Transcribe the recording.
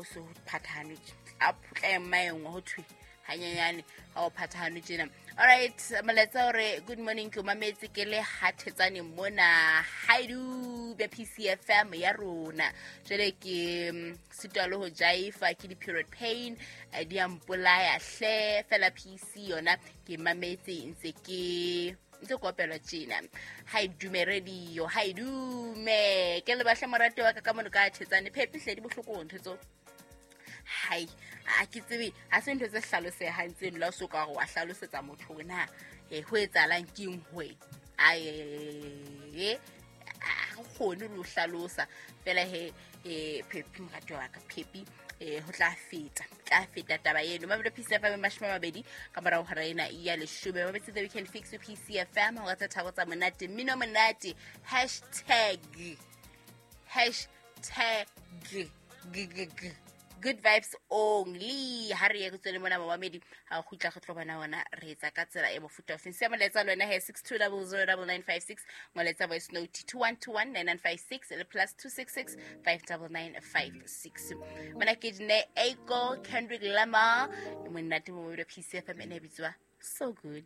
so phathahane a phutla ema engwe ho thwe hanyenyane ha o phathahane tjena. Alright, molaetsa hore good morning, ke o mametse ke le hathetsane mona haidube PCFM ya rona. Jwale ke sitwa le ho jaifa ke di-period pain, di a mpolaya hle fela. PC yona ke mametse ntse ke ntse kopelwa tjena. Ha e dume radio, ha e dume. Ke lebahle morate wa ka ka mono ka thetsane phepi hle, di bohloko ntho tseo. Hai, a ke tsebe, ha se ntho tse hlalosehang tseno la o so ka gore wa hlalosetsa motho hore na ho etsahalang keng hoe ae, a kgone le ho hlalosa fela. He Phepi, morati wa ka Phepi, ho tla feta, tla feta taba eno. Mabelo PCFM, 20 ka morao hora ena ya 10. Mabetse The Weekend Fix, PCFM, hora tse tharo tsa monate, mmino monate. Hashtag, hashtag g g g, good vibes only. Ha re ye re tswele mona momamedi, ha o kgutla re tlo bona ona re etsa ka tsela e mofuta ofeng. Sia molaetsa le wena he, 62009956, ngoletsa voice note 21219956 le +266 59956. Mona ke Dine Aiko, Kendrick Lamar, monate mo PCFM, ene e bitswa So Good.